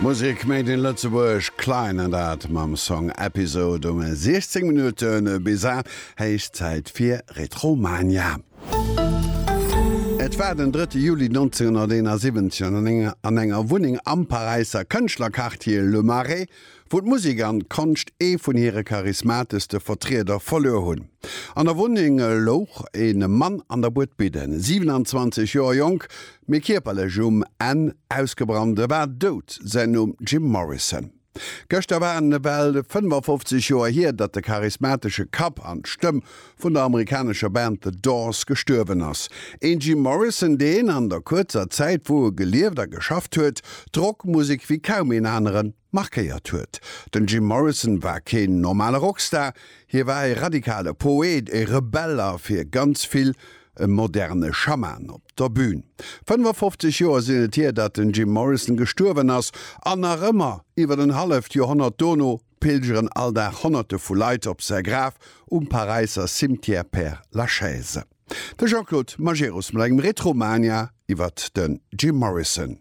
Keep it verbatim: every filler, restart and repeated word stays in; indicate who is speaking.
Speaker 1: Musek made in Lëtzebuerg, Klein an dat mam Song Episode um siechzéng Minutte bis aacht. Héich Zäit fir Retromania. Et war den drëtte Juli nonzénghonnerteenasiwwenzeg an enger Wunneng am Paräisser Kënschtlerquartier Le Marais, wou d'Musek an d'Konscht ee vun hire charismateschste Vertrieder verluer hunn. An der Wunneng louch e Mann an der Buedbidden, siwenanzwanzeg Joer jonk, mee kierperlech um Enn, ausgebrannt. E war dout, säin Numm Jim Morrison. Gëschter waren et ewell fënnefafofzeg Joer hier, datt de charismatesche Kapp an d'Stëmm vun der amerikanescher Band The Doors gestuerwen ass. Een Jim Morrison, deen an der kuerzer Zäit, wou e gelieft a geschafft huet, d'Rockmusek wéi kaum een anere markéiert huet. Den Jim Morrison war keen normale Rockstar, hie war e radikale Poet, e Rebell a fir ganz vill e moderne Schaman op der Bün. fënnefafofzeg Joer sinn et hier, datt den Jim Morrison gestuerwen ass an nach ëmmer, iwwer en halleft Joerhonnert dono, pilgeren all Dag Honnerte vu Leit op säi Graf um Paräisser Cimetière Père Lachaise. De Jean-Claude Majerus mat engem Retromania iwwert den Jim Morrison.